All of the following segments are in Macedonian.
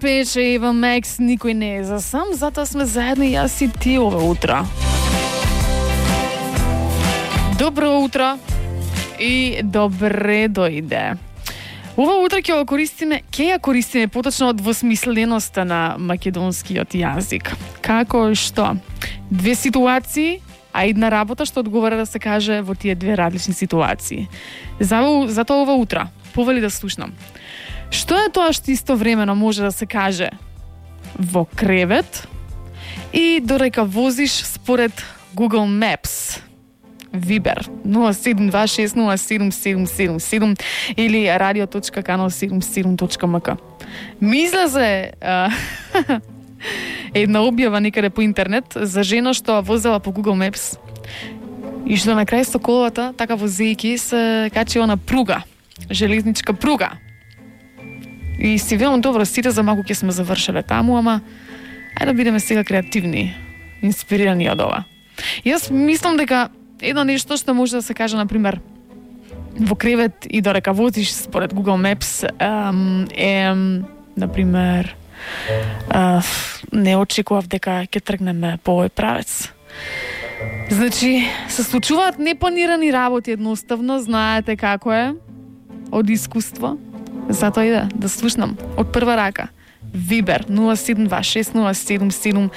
Пеше Ева Мекс, никој не е за сам, затоа сме заедно јас и ти ова утро. Добро утро и добре дојде. Ова утро ќе ја користиме поточно од двосмисленоста на македонскиот јазик. Како и што? Две ситуации, а една работа што одговара да се каже во тие две различни ситуации. Затоа ова утро повели да слушнам. Што е тоа што истовремено може да се каже во кревет и додека возиш според Google Maps? Вибер 072607777 или radio.kanal77.mk. Ми излезе една објава некаде по интернет за жена што возела по Google Maps и што на крај Стоколовата, така возејќи се качила на пруга, железничка пруга. И си велам, добро, сите за малку ќе сме завршеле таму, ама ајде да бидеме сега креативни, инспирирани од ова. Јас мислам дека едно нешто што може да се каже, например, во кревет и додека возиш според Google Maps е, например, не очекував дека ќе тргнеме по овој правец. Значи, се случуваат непланирани работи едноставно, знаете како е, од искуство. Затоа иде да слушнам од прва рака. Вибер 072607777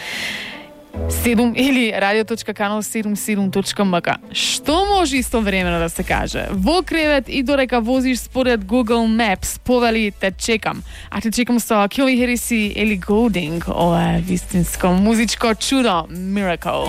или radio.kanal77.mk. Што може истовремено да се каже во кревет и додека возиш според Google Maps? Повели, те чекам. А те чекам со Килли Хериси или Golding. Ова е вистинско музичко чудо. Miracle.